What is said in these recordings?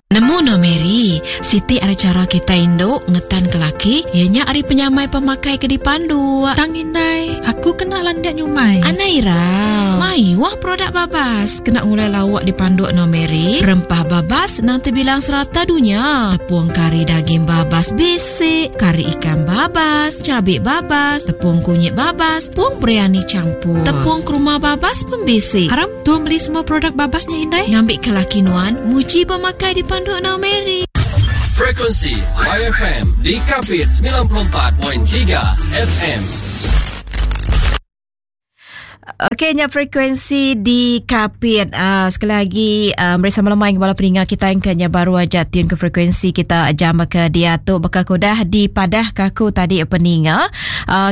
Nemu no Mary, siti ari chara kitai indu ngetan ke laki iya nya ari penyamai pemakai ke dipandu. Tang indai, aku kena landik nyumai. Anai irau. Mayuh produk babas kena ngulai lauk dipanduk no Mary. Rempah babas nang tebilang serata dunya. Tepung kari daging babas bisi, kari ikan babas, cabi babas, tepung kunyit babas, tepung biryani campur, tepung kurma babas pun bisi. Aram Tua meli semua produk babas nya indai. Ngambi ke laki nuan muji pemakai dipanduk enggau Mary. Frekuensi YFM di Kapit 94.3 FM. Okey, nya frekuensi di Kapit. Sekali lagi meri sama lemai bala peninga kita yang kenya baru aja tune ke frekuensi kita jam ke dia tu baka ku dah dipadah ke aku tadi peninga.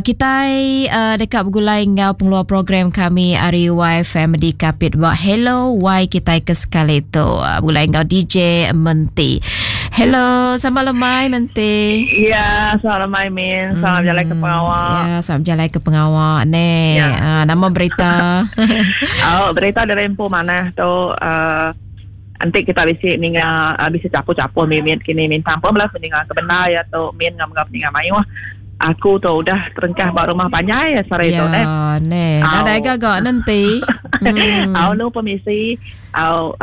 Kitai deka begulai enggau pengeluar program kami ari YFM di Kapit ba Hello Y kitai ke sekali tu. Begulai enggau DJ Menti. Hello, selamat lemai Menti. Ya, selamat lemai Min. Selamat berjalai ke pengawa. Ya, selamat berjalai ke pengawa. Ne, ya. Nama berita? Oh, berita dari empu manah tu enti kita bisi ninga bisi capu-capu mimit kini minta ampun bala peninga ke bendar iya tu min enggau mega peninga mayuh. Aku tu udah terengkah ba rumah panjai sehari tu neh. Ya neh. Nadai gaga nenti. Hmm. Au nu pemisi au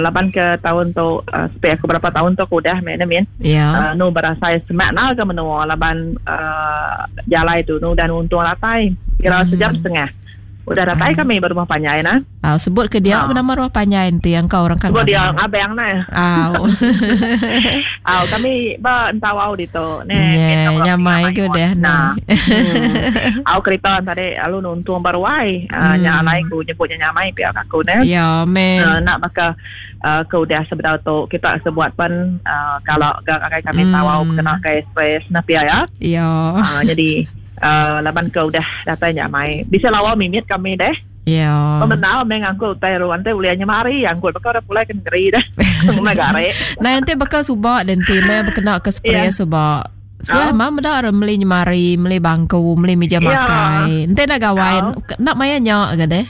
laban ke taun tu sepi aku berapa taun tu aku udah meh ne min. Ya. Nu berasai semak nal ke menua laban jalai tu nu udah nuntung datai kira sejam setengah. Udah datai kami ba rumah panjai nah. Au sebut ke dia nama rumah panjai enti engkau orang kan. Sebut dia abang nah. Au. Au kami ba Entawau ditu ne. Yeah, nyamai ke udah nah. Hmm. Au kereta tadi lalu nuntung ba ruai. Nya alai ku nyebut nya nyamai pia aku ne. Ya, men. Nak baka ke udah sebedau tu kita sebuat pen kalau ga ngagai kami Entawau kena ke express nah pia ya. Ya. Jadi Laban ke udah datai nya amai. Bisi lawa mimit kami deh. Ya. Pemendar meh ngangkut utai ru enti ulih nyemari angkut baka udah pulai ke negeri deh. Ngumbai gare. Nah enti baka suba deh enti meh bekena ke spray Ya. suba. Suah Oh. mah meda orang meli nyemari, meli bangku, meli meja Ya. makai. Enti enda gawai Oh. enda maya nya ga deh.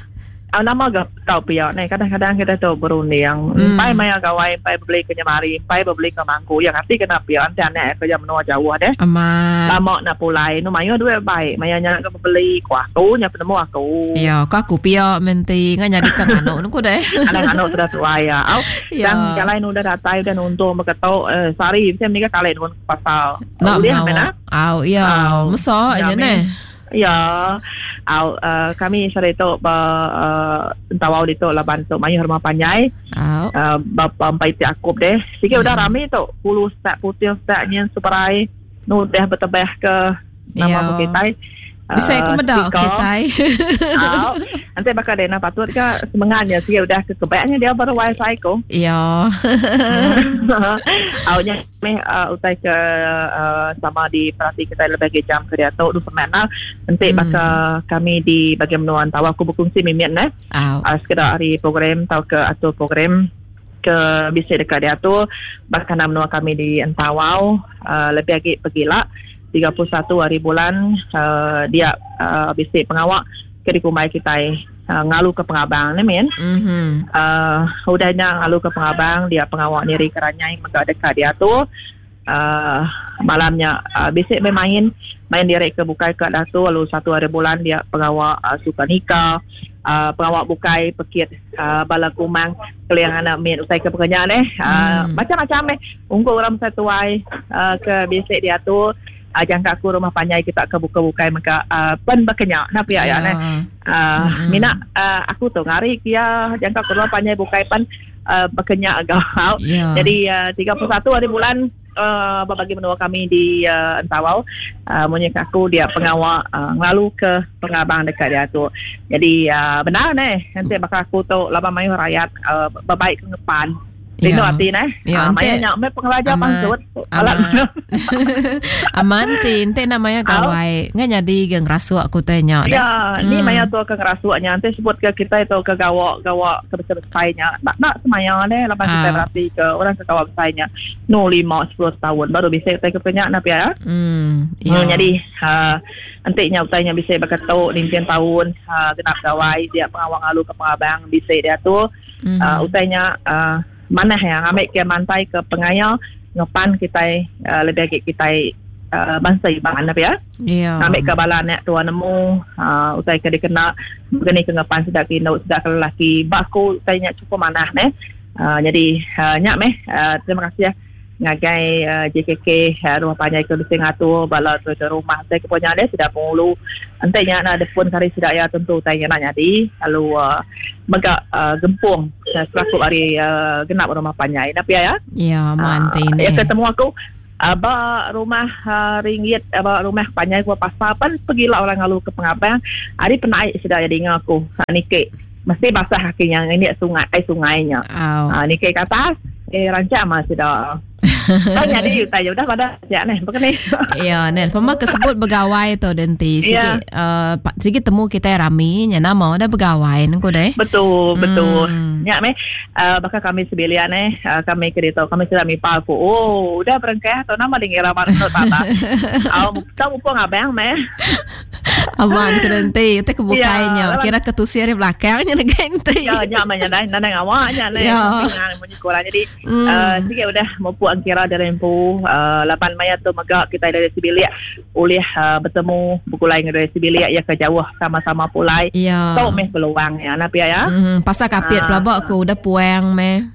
Au nama ga tau pia neh kadang-kadang kita tu berunding. Empai maya gawai empai bebeli ke nyemari, empai bebeli ke mangku. Yang ati kena pia enti anak kerja menua jauh deh. Amat. Lama nak pulai nu mayuh duit bai maya nya ke bebeli ku aku nya penemu aku. Ya, ku aku pia menti ngan nyadi ke nganu nu ku deh. Alah nganu sudah tuai ya. Au Ya. tang jalai nu udah datai udah nuntung beketu eh, sehari mesti meniga kali nuan ke pasar. Nak Ulih ngawa. meh nah. Au ya, Au. mesa Ya nya meh. neh. Ya, au uh, kami sehari tu ba uh, Entawau ditu laban tu mayuh rumah panjai. Au. Uh, bapa empai ti akup deh. Sikit udah rami tu pulu setak puting setak nyin seperai nu udah betebah ke nama Ya. kitai. Bisa aku meda kitai. Au. Enti baka dena patut ke semengat nya sikit udah ke kebaknya dia baru wifi ko. Ya. Au nya meh utai ke sama diperati kitai lebih agi jam ke diatu du pemana enti baka kami di bagian menua Entau aku bekungsi mimit neh sekeda ari program tauka atur program ke bisi deka diatur baka menua kami di Entawau lebih agi pegila 31 hari bulan dia bisi pengawa ke dikumbai kitai ngalu ke pengabang ne min. Udah nya ngalu ke pengabang dia pengawa niri ke ranyai mega deka diatur malam nya bisi meh main main diri ke bukai ka datu lalu satu hari bulan dia pengawa suka nika pengawa bukai pekit bala kumang keling anak mit utai ke pekenya neh macam-macam meh ungkup orang besai tuai ke bisi diatur. Jangka aku rumah panjai kita ke bukai-bukai mega pen baka nya nah pia ya neh. Mina aku tu ngari ke iya jangka aku rumah panjai bukai pen baka nya ga. Jadi 31 hari bulan ba bagi menua kami di Entawau munyi ke aku dia pengawa ngelalu ke pengabang deka diatu. Jadi bendar neh enti baka aku tu laban mayuh rayat bebaik ke ngepan. Rindu ati neh. Ya, maya nya meh pengeraja pansut. Amat. Amat ti enti enda maya gawai ngan nyadi ga ngerasuk ku utai nya deh. Ya, ni maya tu ke ngerasuk nya enti sebut ke kitai tu ke gawa gawa ke besai-besai nya enda enda semaya deh laban kitai berati ke orang ke gawa besai nya nu lima sepuluh taun baru bisi utai ke nya nah pia ya. Ya. Nyadi enti nya utai nya bisi baka tu ninting taun genap gawai dia pengawa ngalu ke pengabang bisi diatu. Utai nya. Manah ya ngambi ke mantai ke pengaya ngepan kitai uh, lebih agi kitai uh, bangsa Iban apa ya. Yeah. Ngambi ke bala anak tua nemu uh, utai ke dikena begini ke ngepan sida ke indu sida ke lelaki. Ba aku utai nya cukup manah neh. Uh, jadi uh, nya meh uh, terima kasih ngagai uh, JKK uh, rumah panjai ke bisi ngatur bala tu ke rumah saya ke punya dia sudah pengulu ente nya na depun kari sida ya tentu utai nya nak nyadi lalu uh, mega uh, gempung uh, serakup hari uh, genap rumah panjai na pia ya ya manti uh, ya ketemu aku Aba rumah uh, ringgit aba rumah panjai gua pasar pan pergilah orang ngalu ke pengabang hari penaik sida ya dinga aku ha, niki mesti basah kakinya ini sungai ai sungainya. Oh. Ha, niki ke atas eh rancak mah sida. Tak jadi utai udah pada ya neh bukan ni. Ya neh pema kesebut begawai tu denti sigi Ya. sigi temu kita rami nya nama udah begawai nengku deh. Betul, betul. Nya meh baka kami sebilik neh kami ke ditu kami sudah mipa aku. Oh, udah berengkah tu nama dingira mar tu tata. Au tau mupung abang meh. Aman ke denti te ke bukai nya Ya, kira ke tusi ari belakang nya negai enti. Ya nya meh nya dai nadai ngawa nya neh. Ya. Munyi ko orang jadi sigi udah mupuk engkira dari empu laban maya tu mega kitai dari sebilik ulih betemu begulai enggau dari sebilik iya ke jauh sama-sama pulai. Ya. Tu meh peluang iya nah pia ya. Pasal kapit pelaba ku udah puang meh.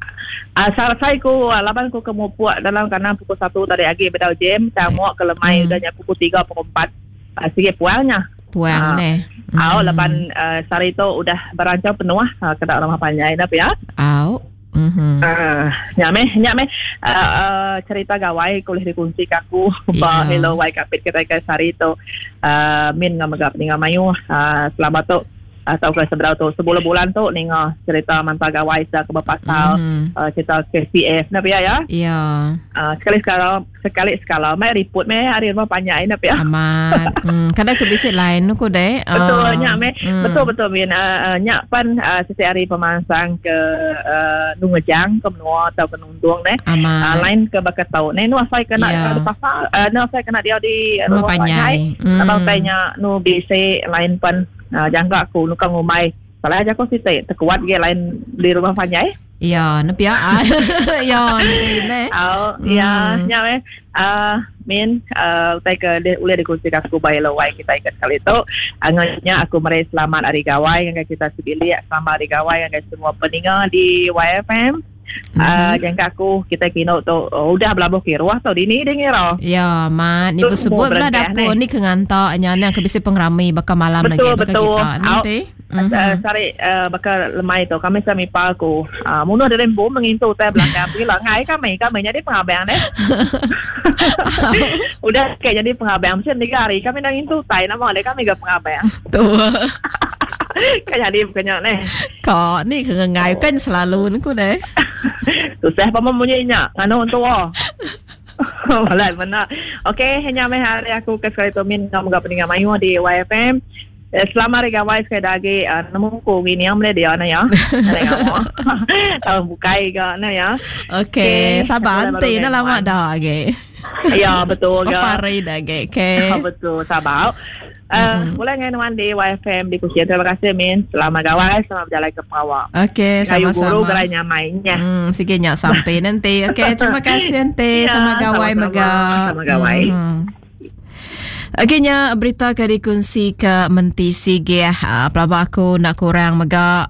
Asal ku laban ku ke mupuk dalam kandang pukul 1 tadi agi bedau jam tang muak ke lemai udah nya pukul 3 pukul 4 sigi puang nya. Puang neh. Au laban sehari tu udah berancau penuh keda rumah panjai nah pia. Au. Nya meh nya meh cerita gawai ke ulih dikunsi ke aku ba Hello Wai Kapit kitai ke sehari tu min enggau mega peninga mayuh selama tu tauka sebedau tu sebulan-bulan tu ninga cerita manta gawai sida ke bepasal cerita KCF enda pia ya. Sekali sekala Sekali sekala mai riput meh ari rumah panjai enda pia. Amat. Kada ke bisi line ku deh. Betul nya meh. Betul betul min nya pan siti ari pemansang ke nungejang ke menua tauka nundung neh. Amat. Line ke baka tau neh nu asai ke nak di pasar nu asai ke nak diau di rumah panjai. Laban utai nya nu bisi line pan jangka aku nu ka ngumbai salah aja ko siti tekuat ge line di rumah panjai. Ya, ne pia. Ya, ne. Au, ya, nya meh. Min, utai ke ulih dikongsi aku ba Hello Wai kitai ke sekali tu. Enggau nya aku meri selamat hari gawai ngagai kita sebilik, selamat hari gawai ngagai semua peninga di YFM. Jangka aku kitai kinu tu udah belabuh kiruh tu dini deh ngira. Ya, mat ni besebut bela dapur ni ke nganta nya ne ke bisi pengerami baka malam lagi baka kita ni. Sari baka lemai tu kami sah mipa aku munuh diri empu mengintu utai belakang pila ngai kami kami nyadi pengabang deh. Udah ke nyadi pengabang mesti tiga hari kami dah ngintu utai nama deh kami ga pengabang. Tu. Ka nyadi bukan nya neh. Ka ni ke ngai kan selalu ku deh. Susah pa munyi nya nganu entua. Balat mena. Okey nya meh hari aku ke sekali tu min ngau mega peninga mayuh di YFM. Selamat hari gawai sekali da agi nemu ku ngining meh dia ne ya. Taun bukai ga ne ya. Okey, sabar enti ne lama da agi. Ya betul ga. Berapa hari da agi. Okey. Betul sabar. Boleh ngai nuan di YFM di Kuching. Terima kasih Min. Selamat gawai, selamat berjalai ke pengawa. Okey, Gayu sama-sama. guru gerai nyamai nya. Sige nya sampai nanti. Okey, terima kasih nanti. Ya, Selamat gawai sama-sama. mega. Selamat gawai. Okey nya berita ke dikunsi ke Menti Sigih. Pelaba aku enda kurang mega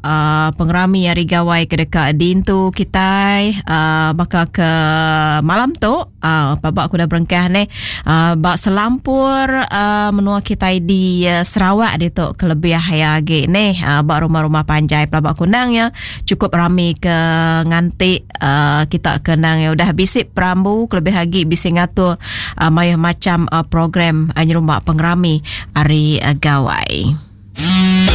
pengerami hari gawai ke deka diintu kitai baka ke malam tu. Pelaba aku dah berengkah neh ba selampur menua kitai di Sarawak ditu ke lebih iya agi neh ba rumah-rumah panjai pelaba aku endang iya chukup rami ke nganti kita ke endang iya udah bisi perambu kelebih agi bisi ngatur mayuh macham program nyerumba pengerami hari gawai.